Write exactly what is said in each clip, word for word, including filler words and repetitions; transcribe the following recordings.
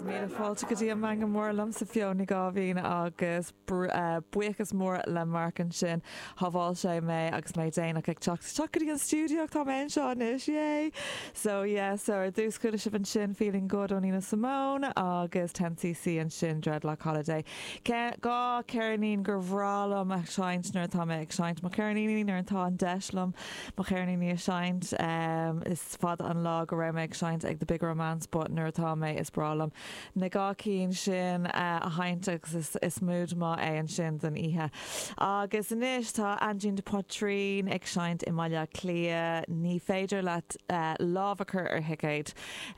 Míle fáilte go dtí an Meangadh Mór liomsa Fiona Ní Gáibhín agus eh, buíochas mór le Mark ansin shábháil sé mé agus mé déanach ag teacht teacht go dtí an stiúideo tá mé anseo anois yay! So yeah, so ar dtús chuala sibh ansin feeling good ó Nina Simone agus ten C C ansin Dreadlock Holiday. Dhá cheirnín gur bhreá liom a sheinnt nuair atá mé ag seinnt mo cheirníní nuair atá an deis agam mo cheirníní a sheinnt um, is fada an lá go raibh mé ag seinnt ag the Big Romance, but nuair atá mé is breá liom. Na dhá cinn sin uh, a sheinnt agus is, is mood maith é ansin don oíche. Agus anois tá Aindín de Paidrín ag seinnt i mBaile Cliath ní féidir leat uh, lámh a chur ar thicéad.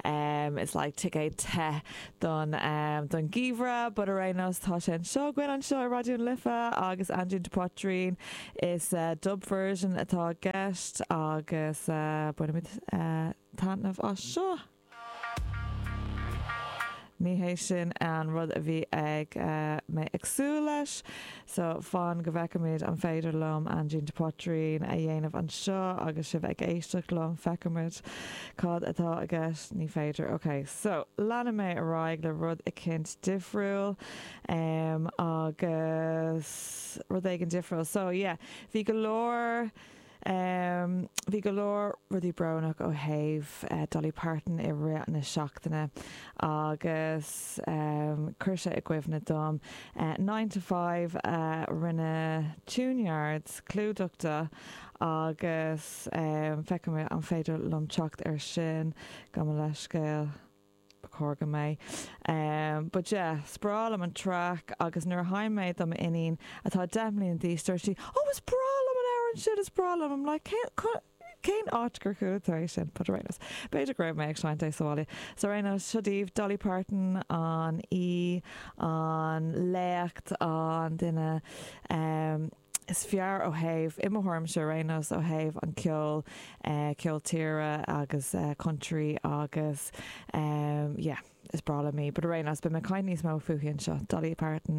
Um, it's like ticéad te don um, don gheimhreadh, but ar aon nós tá sé anseo againn anseo i Raidió na Life agus Aindín de Paidrín is uh, dub version atá i gceist agus uh, bainimid uh, taitneamh as seo. Ní hé sin an rud a bhí ag uh, mé ag súil leis, so fan go bhfeicimid an féidir liom Aindín de Paidrín a dhéanamh anseo agus sibh ag éisteacht liom feicimid cad atá i gceist ní féidir. Ok, so leanfaidh mé ar aghaidh le rud éicint difriúil um, agus rud éigin difriúil. So yeah, bhí go leor Um, bhí go leor rudaí brónach ó thaobh uh, Dolly Parton i rith na seachtaine agus um, chuir sé i gcuimhne dom. Uh, nine to five uh, rinne Tune Yards clúdach de agus um, feicim an féidir liom teacht ar sin go mo leithscéal chóir go mé. Um, but yeah, is breá liom an track agus nuair a sheinn mé dom iníon atá deich mbliana d'aois dúirt sí, oh is breá liom an amhrán sin is breá liom I'm like cén cén áit gur chuala tú é sin but ar aon nós. B'fhéidir go raibh mé ag seinnt é sa bhaile. So ar aon nós seo daoibh Dolly Parton an í an léacht an duine um, is fearr ó thaobh i mo thuairimse ar aon nós ó thaobh an ceol uh, ceol tíre agus uh, country agus um, yeah, is breá liom í, but ar aon nós beidh mé ag caint níos mó fúithi anseo Dolly Parton.